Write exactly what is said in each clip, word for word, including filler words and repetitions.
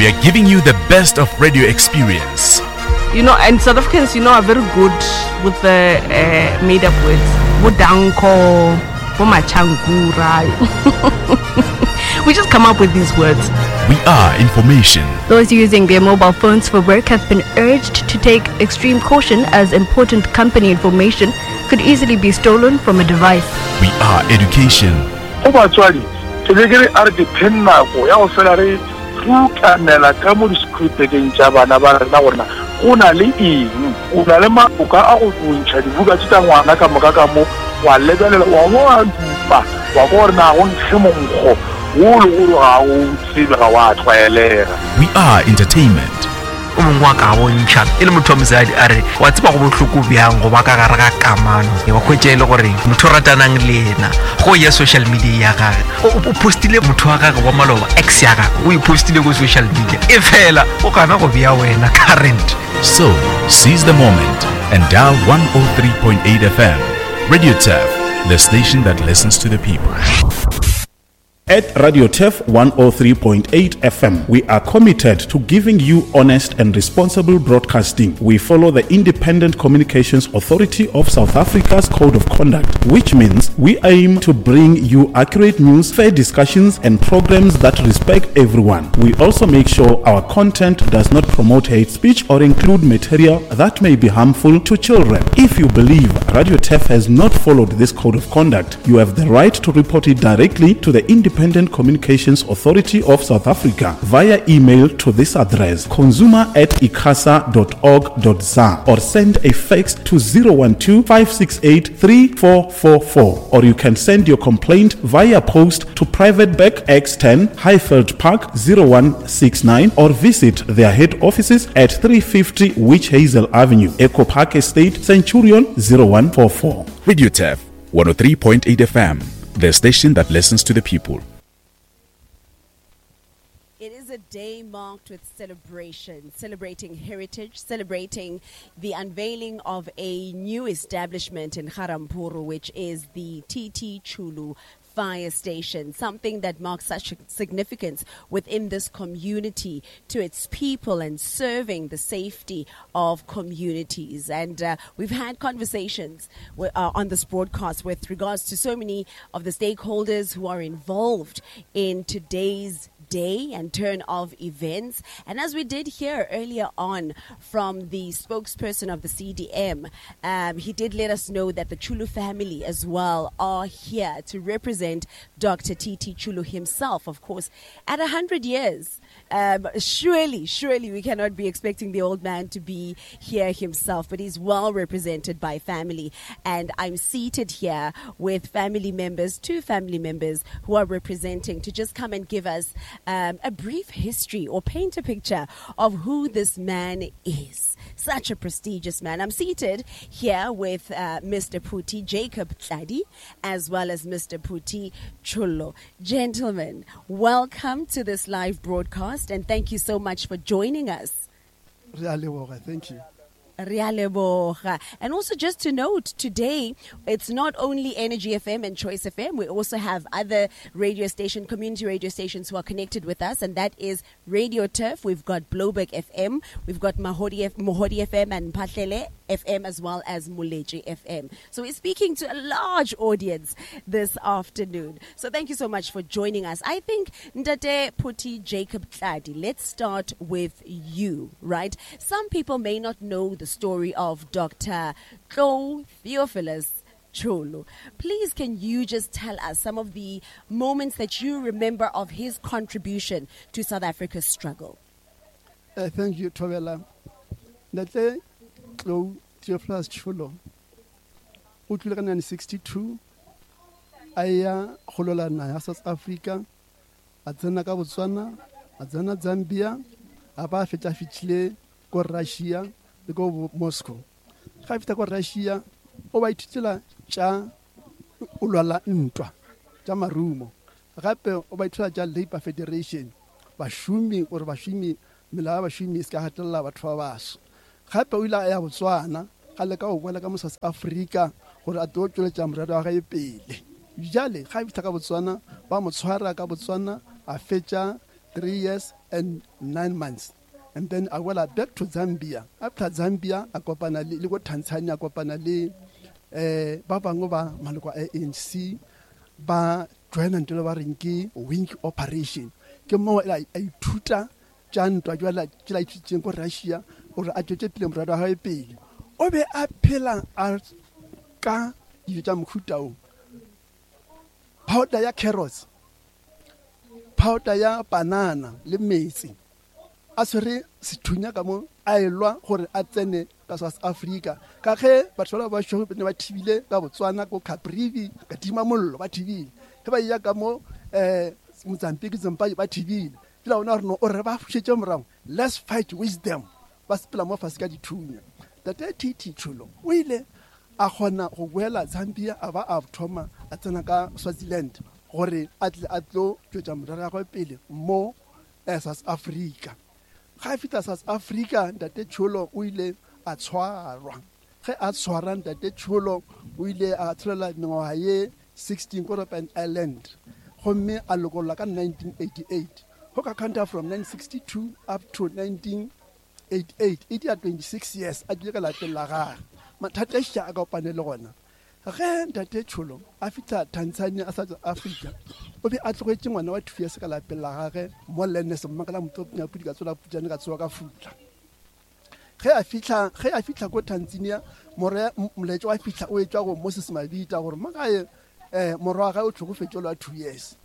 We are giving you the best of radio experience. You know, and South Africans, you know, are very good with the uh, made up words. Bodanko, Bomachangura. We just come up with these words. We are information. Those using their mobile phones for work have been urged to take extreme caution as important company information could easily be stolen from a device. We are education. Go batswadi ke be ke re a re dipheng nako ya go fela re rutanela ka mo di-schoolbekeng tša bana ba rena gorena go na le eng o na le maoka a go bontšha dibuka tse tsa ngwana ka moka ka mo wa lebelela wa bo wa dupa wa kwa gore na go nkge monkgo wo le gore ga o tsebe ga wa tlwaelega. We are entertainment. O mongwe wa ka bontšha e le motho wa mosadi a re wa tseba go bohloko bjang go ba ka gare ga kamano wa hwetša e le gore motho o ratanang le yena go ya social media ya gage o o postile motho wa gage wa maloba ex ya gage o e postile ko social media e fela o gana go bea wena current. So, seize the moment and dial one oh three point eight F M. Radio Turf, the station that listens to the people. At Radio Turf one oh three point eight F M, we are committed to giving you honest and responsible broadcasting. We follow the Independent Communications Authority of South Africa's Code of Conduct, which means we aim to bring you accurate news, fair discussions, and programs that respect everyone. We also make sure our content does not promote hate speech or include material that may be harmful to children. If you believe Radio Turf has not followed this code of conduct, you have the right to report it directly to the Independent Communications Authority of South Africa via email to this address, consumer at icasa dot org dot za, or send a fax to zero one two, five six eight three four four four, or you can send your complaint via post to Private Bag X ten, Highveld Park, zero one six nine, or visit their head offices at three fifty Witch Hazel Avenue, Echo Park Estate, Centurion, zero one four four. Radio Turf one oh three point eight F M, the station that listens to the people. It is a day marked with celebration, celebrating heritage, celebrating the unveiling of a new establishment in Ga-Rampuro, which is the T T Chulu Fire Station, something that marks such significance within this community to its people and serving the safety of communities. And uh, we've had conversations wi- uh, on this broadcast with regards to so many of the stakeholders who are involved in today's day and turn of events. And as we did hear earlier on from the spokesperson of the C D M, um, he did let us know that the Chulu family as well are here to represent Doctor T T Chulu himself, of course, at a hundred years. Um, surely, surely we cannot be expecting the old man to be here himself, but he's well represented by family. And I'm seated here with family members, two family members who are representing to just come and give us um, a brief history or paint a picture of who this man is. Such a prestigious man. I'm seated here with uh, Mister Phuti Jacob Tladi as well as Mister Phuti Chulu. Gentlemen, welcome to this live broadcast and thank you so much for joining us. Re a leboga, thank you. Re a leboga. And also just to note, today it's not only Energy F M and Choice F M, we also have other radio station, community radio stations who are connected with us, and that is Radio Turf. We've got Blouberg F M, we've got Mahodi, F- Mohodi F M and Mphahlele F M as well as Moletji F M. So we're speaking to a large audience this afternoon. So thank you so much for joining us. I think Ntate Phuti Jacob Tladi, let's start with you, right? Some people may not know the story of Doctor Tlou Theophilus Chulu. Please, can you just tell us some of the moments that you remember of his contribution to South Africa's struggle? Uh, thank you, Thobela. Ntate Tlou Theophilus Chulu o tlile ka nineteen sixty-two a ya go lwela naga ya South Africa, a tsena ka Botswana, a tsena Zambia, a ba a fetša a fihlile ko Russia le ko bo- Moscow. Ga a fihla ko Russia o ba ithutela tša o lwala ntwa tša marumo, gape o ba ithutela tša Labour Federation, bašomi, gore bašomi, melao ya bašomi e se ka gatelela batho ba baso. Gape o ile a ya Botswana ga leka go boela ka mo South Africa gore a tlo tšweletša morero wa gae pele. Bjale ga a fihla ka Botswana ba mo tshwara ka Botswana, a fetša three years and nine months. And then a wela back to Zambia. After Zambia a kopana le le ko Tanzania, a kopana le eh ba bangwe ba maloko a A N C, ba joina ntho ba reng ke wing operation. Ke mo a ithuta tša ntwa jwala tšela ithutšeng ko Russia gore a tšwetše pele morero wa gagwe pele. O be a phela a ka dijo tša mohuta o powder ya carrots, powder ya banana le metsi, a tshwere sethunya ka mo a elwa gore a tsene ka South Africa, ka ge batho ba ba šoro ne ba thibile ka Botswana ko Caprivi ka tima mollo, ba thibile ge ba eya ka mo um Mozambique, Zimbabwe, ba thibile pela bona gore no o re ba fušetše morago, let's fight with them. Ba sepela mo fase ka dithunya. Tate T T Cholo o ile a kgona go boela Zambia, a ba a thoma a tsena ka Swaziland gore a tle a tlo tšwetša morero ya gagwe pele mo eh, South Africa. Ga a fihla South Africa, ntate Cholo o ile a tshwarwa. Ge a tshwara ntate Cholo, o ile a tsholela mengwaga ye sixteen ko Robben Island, gomme a lokollwa ka nineteen eighty-eight. Go ka counter from nineteen sixty-two up to nineteen eighty-eight, e dia twenty-six years a dule ka lapeng la gage. Mathata a a kopane le gona ge ntate Cholo a fitlha Tanzania a sa tswa Africa, o be a tlogetše ngwana wa two years ka lapeng la gage mo Lenes mmakala motopnyapudi ka tsola putšane ka tsoa ka futla. Ge a fitlha ge a fitlha ko Tanzania, more molaetša wa fitlha o etšwa go Moses Mabita gore makae um morwa wa gae o tlhokofetše le wa two years.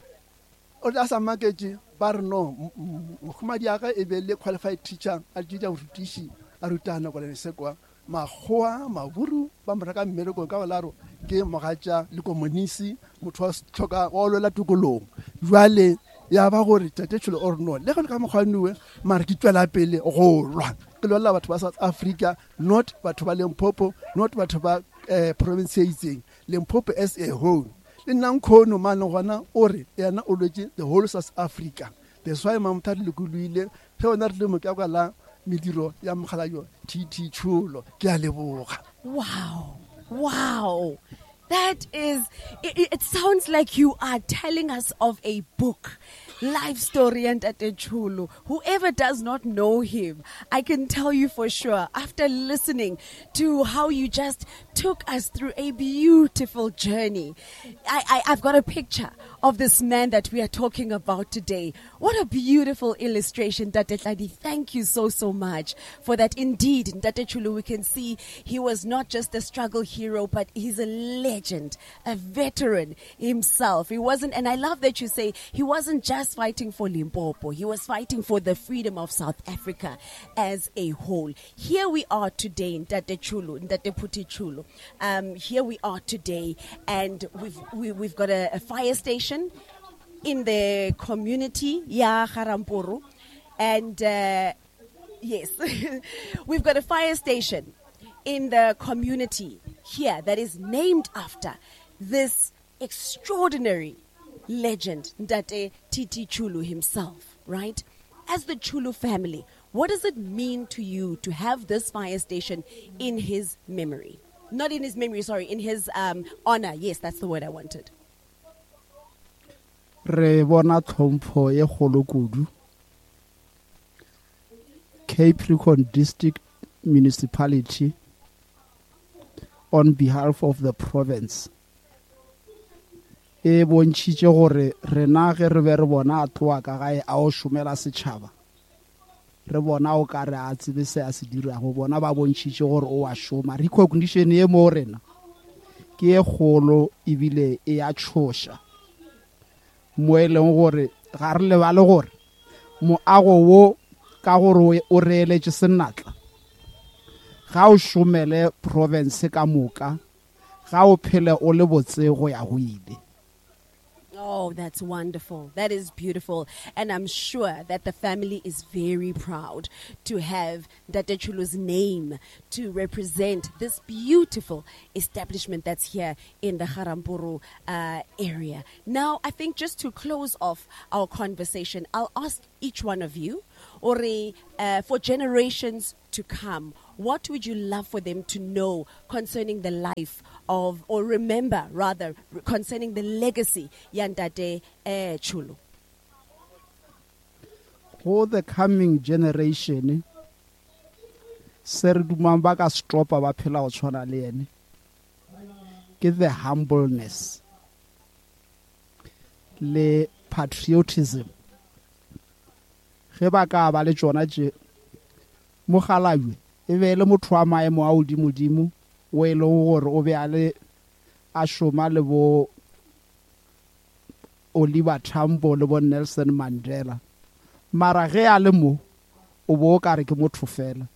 O a sa maketše ba re no mohumadi ya gage e be le qualified teacher, a tšetša borutiši, a rutana ko Lenesekwa. Makgowa maburu ba mo reka mmerekong ka bolaro ke mogatša le komonisi, motho wa tlhoka wa lwela tokolong. Jwale ya ba gore tate Tšholo o re no le ge le ka mokgwanuwe, mare ke tswela pele go lwa, ke lwela batho ba South Africa, not batho ba Limpopo, not batho ba um province e itseng, Limpopo as a whole. Le nna nkgono mane gona o re yena o lwetse the whole South Africa. That's why Mamotha re lokoloile ge ona re le mo ka kwa la mediro ya mogalayo T T Tšholo. Ke a leboga. Wow. Wow. That is, it, it sounds like you are telling us of a book, life story and Ntate Chulu. Whoever does not know him, I can tell you for sure, after listening to how you just took us through a beautiful journey, I, I, I've got a picture of this man that we are talking about today. What a beautiful illustration, Ntate Tladi. Thank you so, so much for that. Indeed, Ntate Chulu, we can see he was not just a struggle hero, but he's a legend, a veteran himself. He wasn't, and I love that you say he wasn't just fighting for Limpopo, he was fighting for the freedom of South Africa as a whole. Here we are today, Ntate Chulu, Ntate Phuti Chulu. Um, here we are today, and we've, we, we've got a, a fire station in the community, ya Garampuru. And uh, yes, we've got a fire station in the community here that is named after this extraordinary legend, Ntate T T Chulu himself, right? As the Chulu family, what does it mean to you to have this fire station in his memory? Not in his memory, sorry, in his um, honor. Yes, that's the word I wanted. Re bona tlhompho ye kgolo kudu. Capricorn District Municipality, on behalf of the province, e bontšhitše gore rena ge re be re bona a tloa ka gae a o šomela setšhaba, re bona o ka re a tsebe se a se dirago, bona ba bontšhitše gore o a šoma. Recognition ye mo rena ke ye kgolo ebile e a tšhoša mo e leng gore ga re lebale gore moago wo ka gore o reeletše senatla ga o šomele province ka moka, ga o phele o le botse go ya go ile. Oh, that's wonderful. That is beautiful. And I'm sure that the family is very proud to have Ntate Chulu's name to represent this beautiful establishment that's here in the Garampuru uh, area. Now, I think just to close off our conversation, I'll ask each one of you, or uh, for generations to come, what would you love for them to know concerning the life of, or remember rather, concerning the legacy ya Ntate eh, Chulu? Go the coming generation se re dumang ba ka stopa ba phela go tshwana le ene ke the humbleness le patriotism. Ge ba ka ba le tšona tše, mokgalabje e be le motho wa maemo a godimodimo o e leng gore o be a le a šoma le bo Oliver Tambo le bo Nelson Mandela, mara ge a le mo o bo o kare ke motho fela.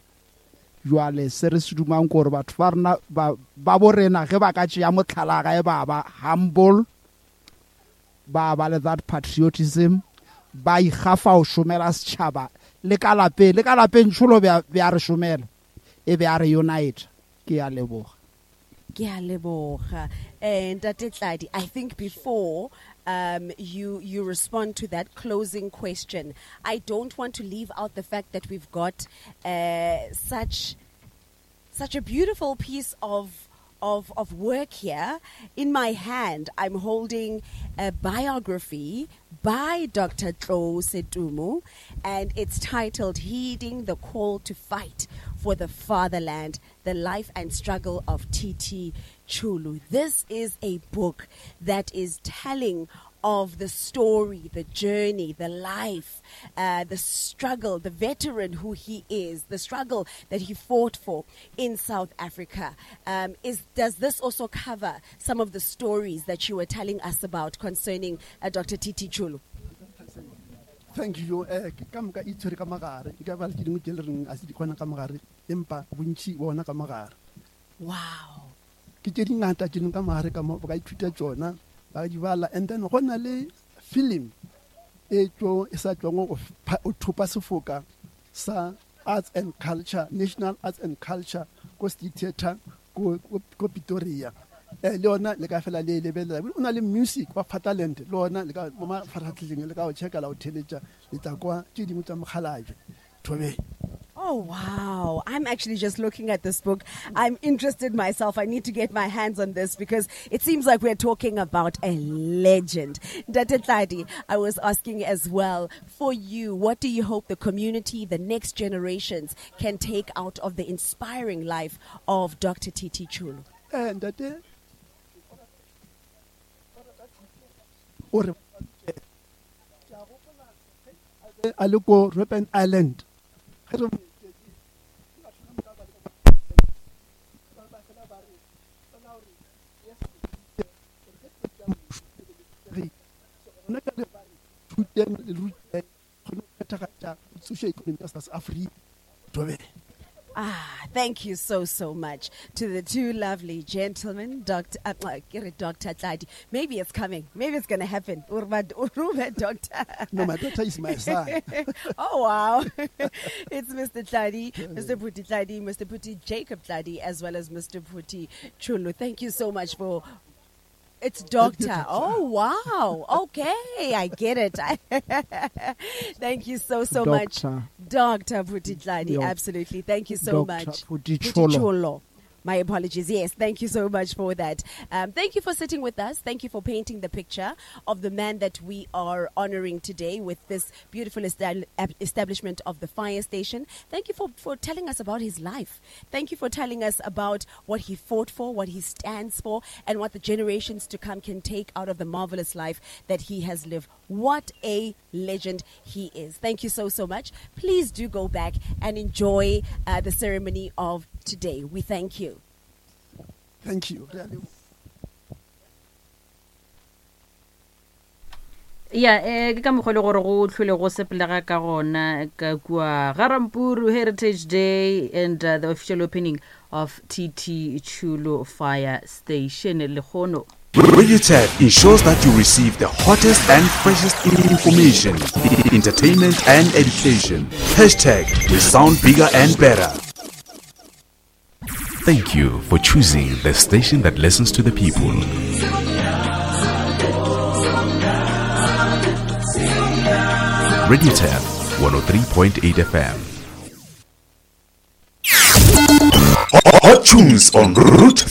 Jwale se re se dumang ke gore batho ba rena ba ba bo rena ge ba ka tšea motlhala gae ba ba humble, ba ba le that patriotism, ba ikgafa go šomela setšhaba le ka lapeng, le ka lapeng tšholo be a re šomela e be a re unite. Ke a leboga. Ke a leboga. And Ntate Tladi, I think before um, you, you respond to that closing question, I don't want to leave out the fact that we've got uh, such, such a beautiful piece of, of, of work here. In my hand, I'm holding a biography by Doctor Tlou Setumu, and it's titled Heeding the Call to Fight for the Fatherland, the Life and Struggle of T T Chulu. This is a book that is telling of the story, the journey, the life, uh, the struggle, the veteran who he is, the struggle that he fought for in South Africa. Um, is, does this also cover some of the stories that you were telling us about concerning uh, Doctor T T Chulu? Thank you. Eh, ka moka e tshwere ka mogare. E ka ba le tše dingwe tše le reng a se di kgona ka mogare, empa bontši bona ka mogare. Wow. Ke tše dingata tše dingwe ka mogare ka mo, ba ka ithuta tšona, ba di bala. And then go na le film e tšo, e sa tšwang go pha-, go thopa sefoka sa Arts and Culture, National Arts and Culture ko State Theatre ko, ko, ko Pretoria. Eh, le yona le ka fela le e lebelela. O na le music wa Fatherland, le yona le ka mo mafaratlhatlheng le ka o checka la o theletša, le tla kwa tše dingwe tša mokgalabje. Thobela. Oh, wow. I'm actually just looking at this book. I'm interested myself. I need to get my hands on this because it seems like we're talking about a legend. Ntate Tladi, I was asking as well, for you, what do you hope the community, the next generations can take out of the inspiring life of Doctor T T Chulu? Eh, Ntate, o re, a le ko Robben Island. Ah, thank you so, so much to the two lovely gentlemen, Doctor Uh, uh, Doctor Tladi. Maybe it's coming. Maybe it's gonna happen. Urba, Urba, Doctor. No, my daughter is my son. Oh, wow. It's Mister Tladi, Mister Phuti Tladi, Mister Phuti Jacob Tladi, as well as Mister Phuti Chulu. Thank you so much for... It's doctor. Oh, wow. Okay, I get it. Thank you so, so much. Doctor. Doctor Phuti Tladi. Yo. Absolutely. Thank you so Doctor much. Phuti Phuti Cholo. Cholo. My apologies. Yes, thank you so much for that. Um, thank you for sitting with us. Thank you for painting the picture of the man that we are honoring today with this beautiful estab-, establishment of the fire station. Thank you for, for telling us about his life. Thank you for telling us about what he fought for, what he stands for, and what the generations to come can take out of the marvelous life that he has lived. What a legend he is. Thank you so, so much. Please do go back and enjoy, uh, the ceremony of today. We thank you. Thank you. Really. Ya, eh, ke ka mokgwa le gore go tlhole go sepelega ka gona ka kua Ga-Rampuru Heritage Day and, uh, the official opening of T T Chulu Fire Station lekgono. Radio Turf ensures that you receive the hottest and freshest information, entertainment and education. Hashtag we sound bigger and better. Thank you for choosing the station that listens to the people. Radio Turf one oh three point eight F M. Hot tunes on Route